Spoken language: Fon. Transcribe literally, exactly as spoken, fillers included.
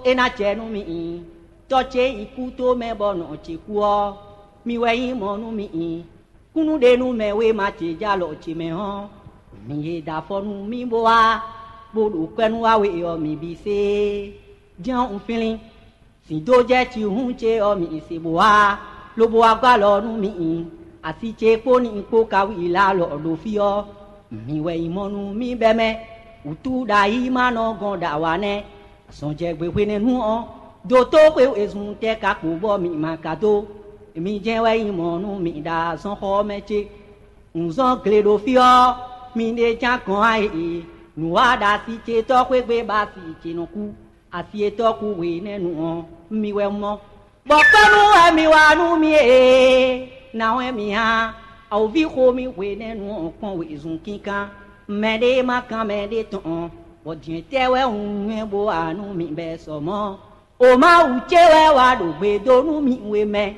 É ná jɛ nú mì. Tɔ́ ce yi kú tó mɛ bɔ nɔ ce kú ɔ́, mi wɛ nyí mɔ̌ nú mì. Kúnnuɖenúmɛ wéma ce jɛ alɔ ce mɛ ɔ́, mi e da afɔ nú mì bó wá, bó ɖo kwɛ́ nú wá we ɔ́, mi bǐ sé. Jɛ́n un flín. Sǐndójɛ́ cihún ce ɔ́, mi se bó wá, lobo wá gɔ́ alɔ nú mì. Asi ce kpó ní kpó ka wí lá alɔ ɖo fí ɔ́, mi wɛ nyí mɔ nú mì bɛ́ mɛ. Wǔtú ɖo ayǐ ma nɔ gɔn ɖo awǎ nɛ́. Azɔn jɛ gbe hwenɛ́nu ɔ́, dótó xwe wezun tɛ́ ka kpo bɔ mi ma ka dó. Mi jɛ́n wɛ nyí mɔ̌ nú mi ɖo azɔnxɔ ɔ́ mɛ cé? Un zɔ́n gle ɖo fí ɔ́, mi ɖe ján gɔn a e? Nǔ wa ɖo asi ce tɔ́ xwé gbe bɔ asi ce nɔ kú. Asi e tɔ́ kú hwenɛ́nu ɔ́, mi wɛ mɔ. Bɔ kpɔ́nú wɛ mi wa nú mì ee, nǎ wɛ mi hán? Awǒvi xo mì hwenɛ́nu ɔ́ kpɔ́n wezun kínkán. Mɛɖé ma kán mɛɖé tɔn, bɔ jɛ̌n tɛ́ wɛ un nywɛ́ bó wa nú mi bɛ́ sɔ mɔ̌? O Mawu ce wɛ wa ɖo gbe dó nú mì we mɛ.